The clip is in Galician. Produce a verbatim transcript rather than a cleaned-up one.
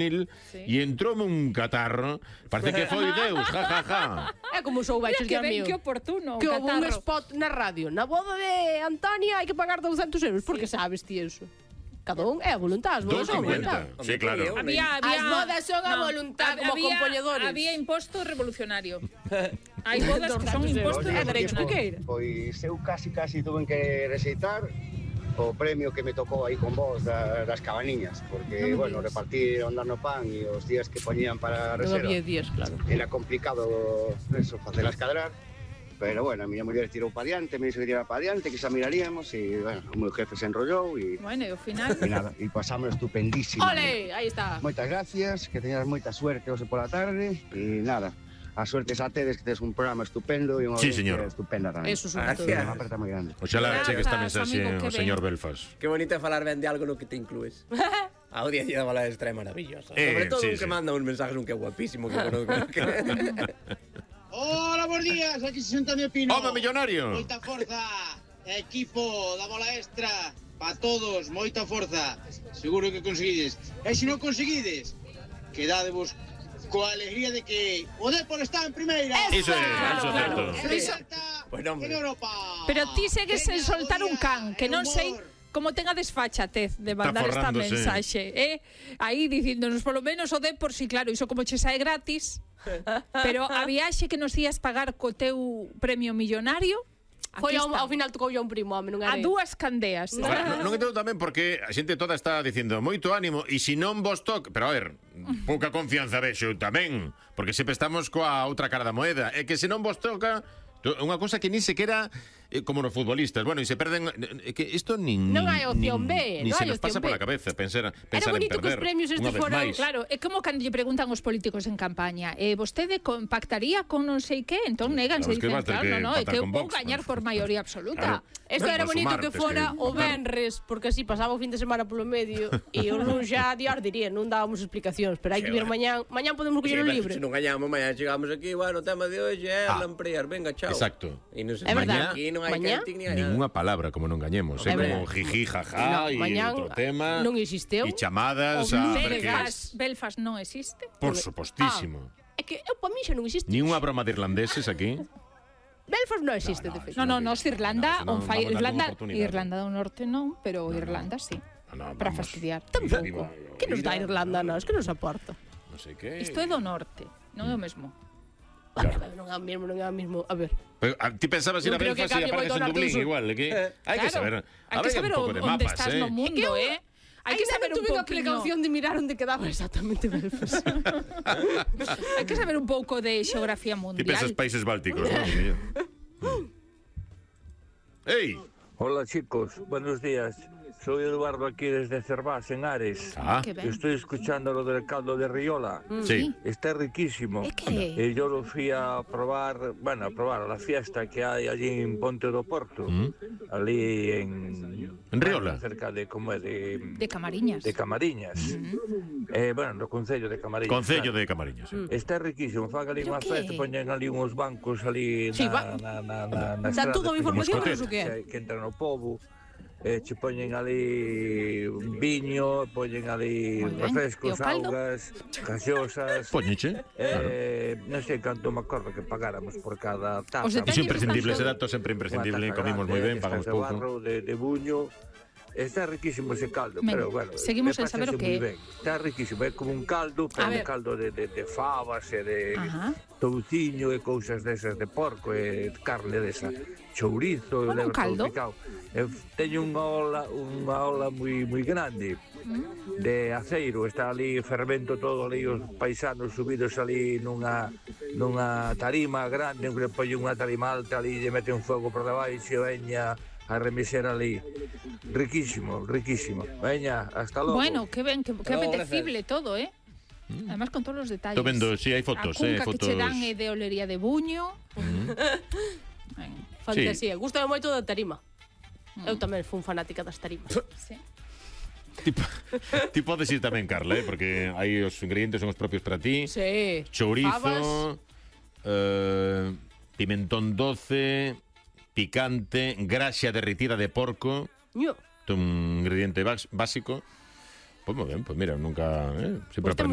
e entroume un catarro. Parece que foi Deus, ja, ja, ja. É como soubeches, que Dios ben, mío. que oportuno, que houve un catarro. spot na radio. Na boda de Antonia hai que pagar douscentos euros. Por que sabes ti eso? Cada un é a voluntad, as bodas son a voluntad. doscientos cincuenta. Sí, claro. Había, había, As bodas son a voluntad, como había, compoñedores. Había imposto revolucionario. Hai bodas que son impostos É derecho revolucionarios. piqueira. Pois eu casi casi tuve que rexeitar o premio que me tocou aí con vos da, das cabaniñas, porque, Non me bueno, digas. repartir o andar no pan e os días que poñían para a Non reserva había días, claro. era complicado eso, facelas cadrar, pero, bueno, a miña muller tirou para diante, me dixo que tirara para diante, que xa miraríamos, e, bueno, o meu jefe se enrollou e, Bueno, e ao final... e nada, e pasamos estupendísimo. Ole, aí está. Moitas gracias, que teñas moita suerte hoxe pola tarde, e nada, a suerte xa tedes que tes un programa estupendo e unha Sí, audiencia señor. estupenda tamén. Eso sobre todo. Unha aperta moi grande. Oxalá chegue esta Grazas, mensaxe amigo, que ao ben. señor Belfast. Qué bonito é falar ben de algo no que te inclues. A audiencia da Bola Extra é maravillosa. Eh, Sobre todo sí, un que sí. manda uns mensajes un que é guapísimo, que conozco. Hola, buenos días, aquí es Antonio Pino. Home millonario. Moita forza, equipo da Bola Extra, para todos, moita forza. Seguro que conseguides. E se non conseguides, quedadevos coa alegría de que o Depor está en primeira. Iso é, iso é certo. E Celta Bueno, hombre. en Europa. Pero ti segues sen Veña, soltar un Goya, can, que e non sei humor. como ten a desfachatez de mandar esta forrándose. mensaxe, eh? Aí dicíndonos, polo menos o Depor, si claro, iso como che sae gratis, pero a viaxe que nos ías pagar co teu premio millonario, Foi aquí ao, está. ao final tocou a un primo, home, non A era. dúas candeas. Ahora, non, non entendo tamén porque a xente toda está dicindo moito ánimo e se non vos toca, pero a ver, pouca confianza vexo tamén, porque sempre estamos coa outra cara da moeda, é que se non vos toca to- unha cosa que nin sequera eh, como nos futbolistas, bueno, e se perden é que isto nin Non hai opción nin, B, nin non se hai nos pasa opción B. pola cabeza pensar, Era pensar en bonito que os perder. premios estes unha vez foran, máis. Claro, é como cando lle preguntan os políticos en campaña, eh, vostede compactaría con non sei que, entón neganse, Claro, es que dicen, vas ter claro, que no, no, é pactar que eu con vou Vox, gañar ¿no? por maioría absoluta. Claro. Esto era Por bonito sumar, que tes fora que o votar. venres, porque así pasaba o fin de semana polo medio e o luns xa dios diría, non dábamos explicacións, pero hai que vir mañán, mañán podemos coller o libre. Se non gañamos, mañá chegamos aquí, bueno, o tema de hoxe é Ah. Lamprear, venga, chao. Exacto. E non se É verdad. Aquí non hai Mañá, canting ni hai nada. Ninguna palabra como non gañemos, é É como verdad. jiji, jaja, No, e mañán outro tema. non existeu. E chamadas O a ver que Belfast, Belfast non existe. por supostísimo. É que eu para mí xa non existe. Ni unha broma de irlandeses aquí. Belfast non existe, de feito. No, no, nos Irlanda, No, on senón fai vamos darlle Irlanda, unha oportunidade. Irlanda do Norte non, pero Irlanda sí. No, no, Para vamos. fastidiar. Tampouco. Que nos dá Irlanda, non? Es que nos aporta. Non sei que. Isto é do Norte, non é o mesmo. Claro. Non é o mesmo, non é o mesmo. A ver. Pero, a, ti pensabas ir Non a creo que Belfast e cambie apareces moito en o norte Dublín do sur. igual, é que hai que Claro, saber. hai que saber un pouco de onde mapas, estás eh. no mundo, eh? Hai que saber un tuve a pouquiño. precaución de mirar onde quedaba exactamente Belfast. Hai que saber un pouco de xeografía Ti mundial. pensas países bálticos, non? Ei, Hola chicos, buenos días. Soy Eduardo aquí desde Cervás, en Ares. ah, Que ben. Estoy escuchando lo del caldo de Riola. sí. Está riquísimo. ¿Es qué? Y yo lo fui a probar, bueno, a probar a la fiesta que hay allí en Ponte do Porto. Mm. Allí en... En Riola. Cerca de, como é, de... De Camariñas. de Camariñas. eh, bueno, no Concello de Camariñas. Concello claro. de Camariñas. sí. Está riquísimo, fan ali ¿Pero unha qué? festa, poñen ali uns bancos ali Sí, na, va. na, na, na, na Dá estrada, toda a información, Moscotet. non sei o que é. que, que entra no pobo, eh, che poñen ali viño, poñen ali Moi ben. refrescos, E o caldo? augas, gaseosas. Poñeche. Eh, non sei canto me acordo que pagáramos por cada taza. Os Iso detalles imprescindible, están ese todo. dato sempre imprescindible, Unha taza comimos grande, moi ben, destas pagamos de pouco. barro, de, de buño. Está riquísimo ese caldo, Ben, pero bueno, seguimos me sen saber o parece que é. moi ben. Está riquísimo, é como un caldo, pero A un ver. caldo de, de, de fabas e de Ajá. touciño e cousas desas de porco e carne desa, chourizo, Como un leva caldo? todo picado. E teño unha ola, unha ola moi moi grande de aceiro, está ali fermento todo ali os paisanos subidos ali nunha nunha tarima grande, que poñen unha tarima alta ali e mete un fogo por debaixo e veña a remexer ali. Riquísimo, riquísimo. Veña, hasta logo. Bueno, que ben, que, que No, apetecible todo, eh? Además con todos los detalles. Estou vendo, si, hai fotos, a eh, cunca fotos. que che dan é de olería de buño. Ben, Fantasía. Gústame moito da tarima. Eu tamén fui fanática das tarimas. sí. Ti, ti podes ir tamén, Carla, eh, porque aí os ingredientes son os propios para ti. Sí. Chourizo, Fabas. eh, pimentón doce, picante, graxa derritida de porco, Ño. un ingrediente bas- básico. Pues muy bien, pues mira, nunca... ¿eh? Siempre Pues temos